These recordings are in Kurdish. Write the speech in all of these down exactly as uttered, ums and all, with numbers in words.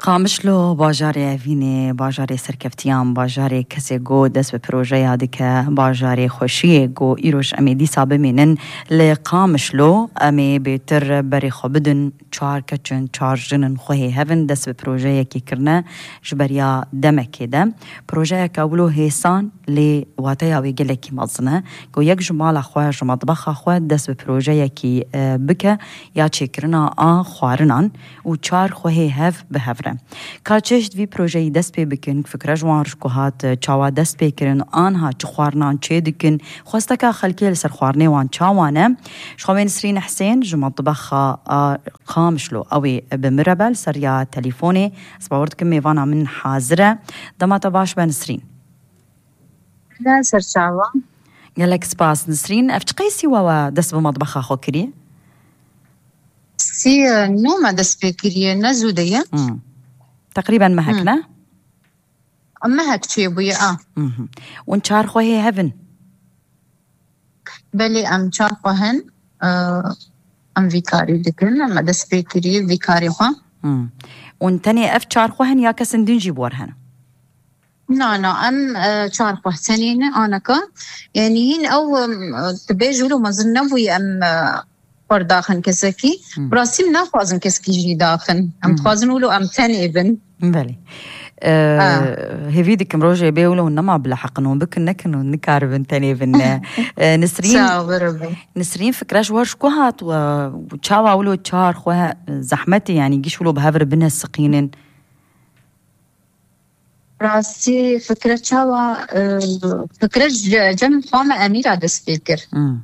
Qamişlo, bajarê evînê, bajarê serkeftiyan, bajarê kesê ku dest bi projeya dike, bajarê xweşiyê ku îroj em ê dîsa bimînin li Qamişlo, em ê bêtir berê xwe bidin çar keçin, çar jinin xwe hê hevin dest bi projeyekê kirine ji beriya demekê de. Projeyeke wilo hêsan lê wateya wê gelekî mezin e ku yek ji mala xwe, ji metbexa xwe dest bi projeyekî, e, bike ya çêkirina a xwarinan û çar xwe hê hev bi hev re. Ka çeşt vî projeyî dest pê bikin, fikre ji wan re ji ku hat, çawa dest pê kirin, anha çi xwarinan çê dikin, xwesteka xelkê li ser xwarinê wan çawa ne? Ji xwe wê Nisrîn Husên ji metbexa a Qamişlo, ew ê bi min re be li ser ya telîfonê. Ez bawer dikim mêvana min hazir e. Dema te baş be Nisrîn. Gelek spas Nisrîn. Ev çi qeysî we we dest bi metbexa xwe kiriye? Sî, e, nû me dest pê kiriye, ne zû de ye. Hmm. Teqrîben mehek, Hmm. ne? Mehek çêbûye, a. Mhm. Hûn çar xwe hê hev in? Belê, em çar xwe hin, e, em vî karî dikin, me dest pê kiriye vî karê xwe. Hmm. Hûn tenê ev çar xwe hin ya kesên din jî bi we re hene? Na, na, em, e, çar xwe tenê ne aneka. Yanî hîn ew, em, tu bêj wilo mezin nebûye em, e, xwe daxin kesekî. Hmm. Bi rastî em naxwazin kesekî jî daxin. Em Hmm. dixwazin wilo em tenê bin. Belê. E, Ha. Hêvî dikim rojê bê wilo nema bila heqin hûn bikin nekin hûn nikaribin tenê bin ne. E, Nisrîn, Sağ ol, beraber. Nisrîn fikre ji we ji ku hat we çawa wilo çar xwe zehmetê yanî giş wilo bi hev re bine siqînin? Rastî fikre çawa, e, fikre ji cem xwe me Emîra dest pê kir. Hmm.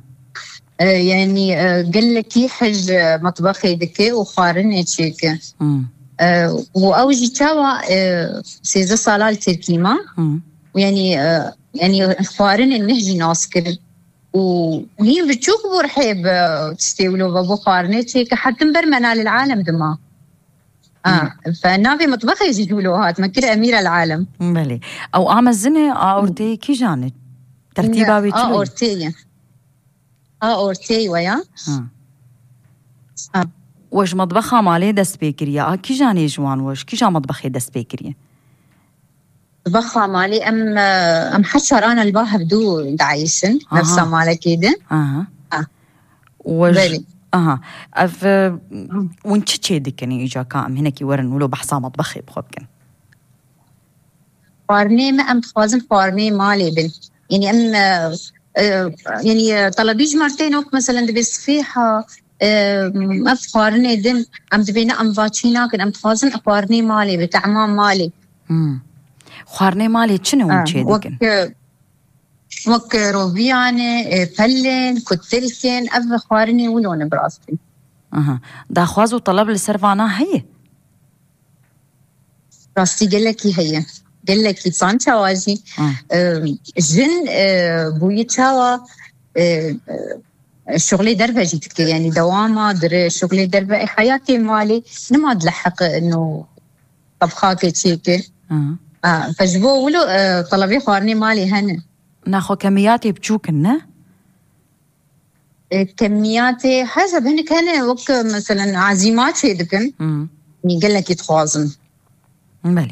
E, yanî, e, gelekî hij, e, metbexê dike û xwarinê çêke. Hmm. E, û ew jî çawa, e, sêzdeh sala li Tirkî ma. Hmm. Û yanî, e, yanî xwarinê neh jî nas kir. Û hîn biçûk bû rihê bi tiştê wilo ve bû xwarinê çêke hetim ber mena lil alem dima. A, Hmm. fe navê mitbexê jî ji wilo hat, me kir Emîra li alem. Belê. Ew a mezin e, a orteyê kîjan e? Tertîba wê çi A ye? Orteyê. A orteyê we ya. Ha. Ha. We ji mitbexa malê dest pê kiriye. A kîjan ê ji wan we ji kîja mitbexê dest pê kiriye? Mitbexa malê em, e, em her çar ana li ba hevdû diayîşin. Aha. Nefsa malekê de. Aha. Ha. We ji Belê. Aha. Ev, e, hûn çi çê dikin îca ka em hinekî werin wilo behsa metbexê bi xwe bikin? Xwarinê me em dixwazin xwarinê malê bin. Yanî em, e, e, yanî, e, telebî ji me re tên wek meselen dibê sifêha, e, ev xwarinê din em dibê ne em va çî nakin, em dixwazin xwarinê malê bi tehma malê. Hmm. Xwarinê malê çi ne hûn Ha, çê wek, dikin? E, Wek roviyan e, e, pelên, kutilkên, ev xwarinê wilo ne bi rastî. Aha. Daxwaz û teleb li ser vana heye? Rastî gelekî heye. Gelekî san çawa jî, Ah. e, jin, e, bûyî çawa, e, e, şuxlê derve jî dike. Yanî dewama dire şuxlê derve. E, heyatê malê nima dileheqe ino tebxakê çêke. Aha. A, fe ji bo wilo, e, telebê xwarinê malê hene. Naxwe kemiyatê biçûk in, ne? E, kemiyatê heze bi hinek hene, wek, e, meselen, ezîma çê dikin. Hmm. Gelekî dixwazin. Belê.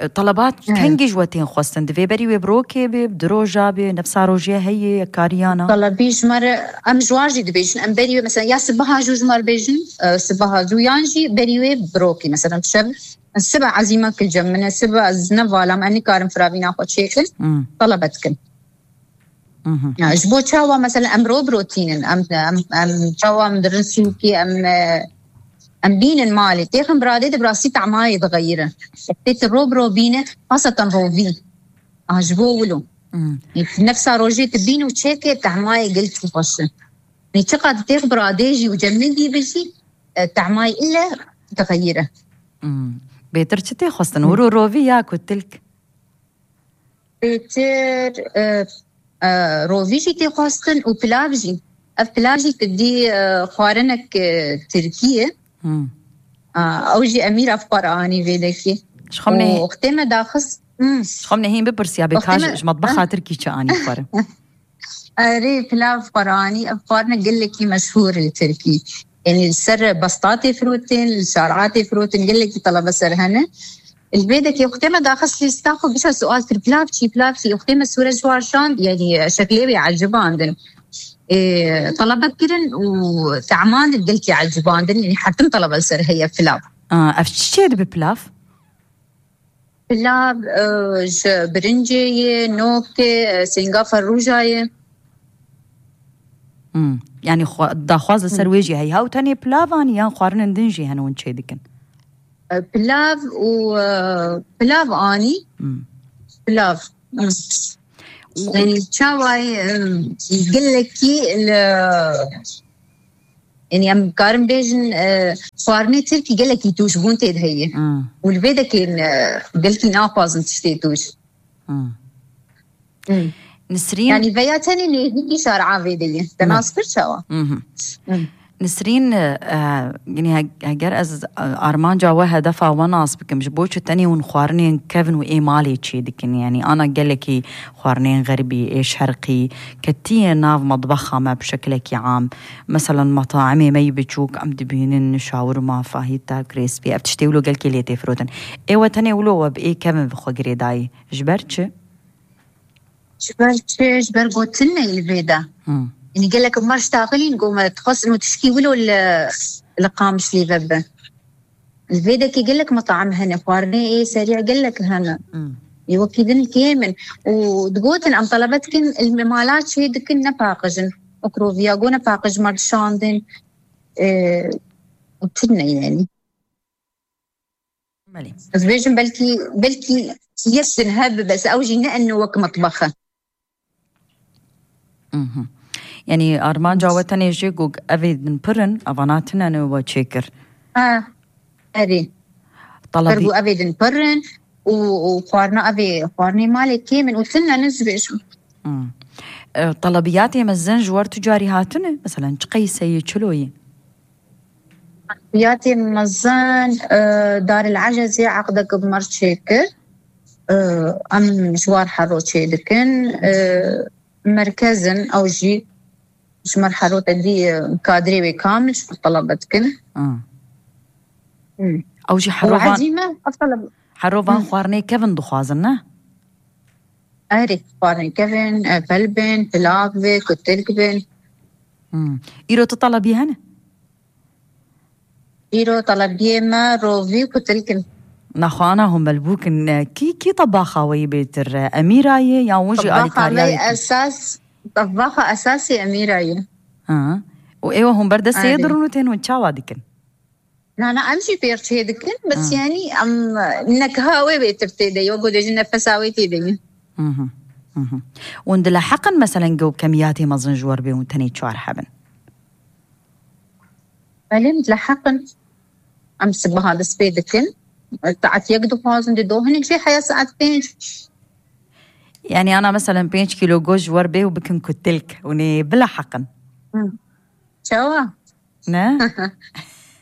E, telebat Hı. kengî ji we tên xwestin? Divê berî wê bi rokê bê, bi di roja bê, nefsa rojê heye, kariyana? Telebî ji me re, em ji wan jî dibêjin, em berî wê, mesela, ya sibeha jû ji me re bêjin, e, sibeha jû, yan jî berî wê bi rokê, mesela, şev, sibe ezîma kil cem min e, sibe ez ne vala me, em nikarin firavîna xwe çêkin, Hmm. telebe dikin. Mhm. Ya, ji bo çawa, mesela, em ro bi ro tînin, em, em, em çawa em dirin sûkê, em, e, em bînin malê. Têxin biradê de bi rastî tehmayê dixeyire. Tê tu ro bi ro bîne, xaseten rovî. A, ji bo wilo. Hmm. Nefsa rojê tu bîn û çêke tehmayê gelkî xweş e. Nê çiqas têx biradê jî û cemidî bi jî, e, tehmayê ile dixeyire. Hmm. Bêtir çi tê xwestin? Hmm. Wir û rovî ya ku tilk? Bêtir, e, e, rovî jî tê xwestin û pilav jî. Ev pilav jî tu dî, e, xwarinek, e, tirkî ye. Hmm. A, ew jî Emîra bi xwe re anî vê dekê. Ji xwe min Û nehî-, wextê me daxist, hmm. Ji xwe min nehîn bipirsiya bê Wextê ka me, ji metbexa ha? Tirkî çi anî xwe re? Erê, pilav xwe re anî, ev xwarine gelekî meşhûr li Tirkî. Yani li ser besta tê firotin, li şara tê firotin, gelekî telebe ser hene. Li vê dekê wextê me daxist lîsta xwe, gişa sual kir, pilav çi, pilav çi? Wextê me sûre ji wan şand, yani şeklê wê ecibandin. Ê, telebe kirin û teman gelkî ecibandin, yani her tim telebe li ser heye pilav. Aa, ev çi çê dibe pilav? Pilav, e, ji birincê ye, nokê, e, sêngafa rûja ye. Hmm. Yani xwe-, daxwaz li ser Hmm. wê jî heye. Ew tenê pilav anî yan xwarinên din jî hene hûn çê dikin? E, pilav û, e, pilav anî. Hmm. Pilav. Hmm. Yani çawa ye, e, gelekî li Yani em karin bêjin, e, xwarinê tirkî gelekî tûşbûn tê de heye. Hmm. Û li vê dekên, e, gelkî naxwazin tiştê tûş. Hmm. Hmm. Nisrîn. Yani veya tenê nêzîkî şara vê de ye. Te Hmm. nas kir çawa? Mhm. Hmm. Nisrîn, e, yani he-, heger ez, e, armanca we, hedefa we nas bikim, ji bo çi tenê hûn xwarinên kevin û ê malê çê dikin? Yani ana gelekî xwarinên xeribî, ê şerqî, ketiye nav metbexa me bi şekilekî am. Meselen, metaimê me yî biçûk, em dibînin şawirma, fahîta, krêspî, ev tiştê wilo gelkê lê tê firotin. Ê we tenê wilo we bi ê kevin bi xwe girêdayî. Ji ber çi? Ji ber çi? Ji ber gotin ne li vê de. Hmm. Yani gelek mar ji taxilîn go me dixwestin û tişkî wilo li, li Qamişlî ve bi. Li vê dekê gelek metaim hene, xwarinê ê serî gelek hene. Hmm. Ê wekî din kêm in. Û digotin, em telebe dikin, li mala çê dikin, nepaqijin. Wek roviya go nepaqij me dişandin. Ê, û tune yani. Belê. Ez bêjim belkî, belkî yek din hebe, bes ew jî ne eno wek metbex e. Mhm. Yani armanca we tenê jê ku evê din pir in, evana tune ne we çêkir. Ha, erê. Pir Talabî- bû evê din pir in û, û xwarina evê, xwarinê malê kêm in û tune ne ez bêjim. Hmm. E, telebiyatê mezin ji wer tu carî hatine? Meselen, çi qeyseyê, çi loyê? Yatê mezin, e, Daril Ecezê eqdek bi mer çêkir. E, em ji war hero çê dikin. E, merkezin ew jî ji mer hero te dî, e, kadrê wê kamil ji xwe telebe dikin. Ah. Hmm. Ew jî Û herovan, ezî me, ev teleb- herovan Hmm. xwarinê kevin dixwazin, ne? Erê, xwarinê kevin, e, pel bin, pilav bin, kutilk bin. Hmm. Îro tu telebî hene? Îro telebiyê me rovî û kutilk in. Naxwana hûn belbûk in. Kî, kî tebaxa we yî bêtir? Emîra ye yan win jî Tebaxa alîkariya me wê kir? Esas, tebaxa esasî Emîra ye. Ha. Û êwe hûn ber destê Erê. Dirûn û tên hûn çawa dikin? Na, na, em jî pêr çê dikin, bes Ha. yani em, e, nekha wê bêtir tê de ye, wek ku dibêjin nefesa wê tê de ye. Mhm, mhm. Hûn dileheqin, meselen, ku kemiyatê mezin ji wer bê hûn tenê çar hebin? Belê, em dileheqin. Em sibaha dest pê dikin. Saet yek dixwazin, dido hinek jê heya saet pênc. Yani ana, meselen, pênc kîlo goşt ji wer bê û bikin kutilk, hûn ê bileheqin? Hı. Çawa? Ne?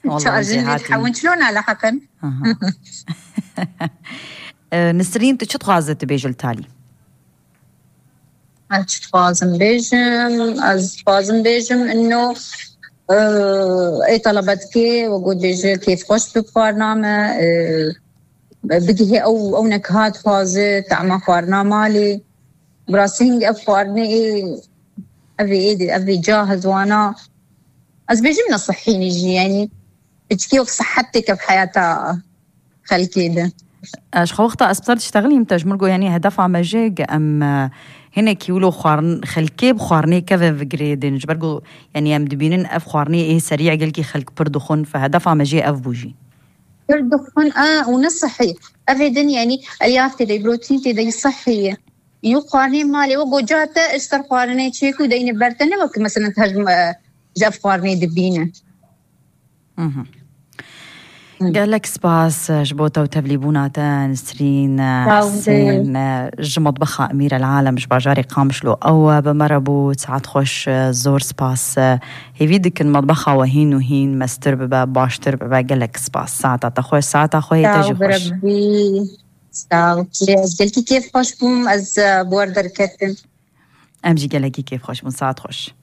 Vallahi Çar jin jêhatî. Hewin çilo naleheqin. Aha. E, Nisrîn, tu çi dixwaze tu bêjî li talî? Ez çi dixwazim bêjim? Ez dixwazim bêjim, ino, e, ê telebe dikê, we got bêje, kêfxweş bi xwarina me, e, bigihê ew, ew nekha dixwaze, tema xwarina malê. Bi rastî hingî ev xwarinê ê, ev ê, ê, ev ê ca hezwana. Ez bêjim ne sihî ne jî, yanî piçkî wek sihet têke bi heyata xelkê de. Ez xwe wexta ez bi ser diştexilîm te ji min got, yanî hedefa me jê ge em, e, hinekî wilo xwarin, xelkê bi xwarinê keve vigirêdin. Ji ber ku, yanî em dibînin ev xwarinê ê serî gelkî xelk pir dixwin, fe hedefa me jê ev bû jî. Pir dixwin, e, û ne sihî. Ev ê din, yanî elyaf tê de, protein tê de, sihî ye. Yû xwarinê malê we goca te ji ser xwarinê çêk û deyne ber te, ne wek mesela te ji, e, ji ev xwarinê dibîne. Mhm. Hı. Gelek spas, e, ji bo te û tevlîbûna te, Nisrîn, e, Sağ olun. Hesên, e, ji metbexa Emîr El Alem ji bajarê Qamişlo ew, e, bi me re bû. Saet xweş, e, zor spas, e, hêvî dikin metbexa we hîn û hîn mestir bibe, baştir bibe. Gelek spas. Saeta te xweş, saeta xwe yê te Sağ jî ol, xweş. Rebî. Sağ ol. Ez gelkî kêf xweş bûm, ez, e, bi we re derketim. Em jî gelekî kêf xweş bûn. Saet xweş.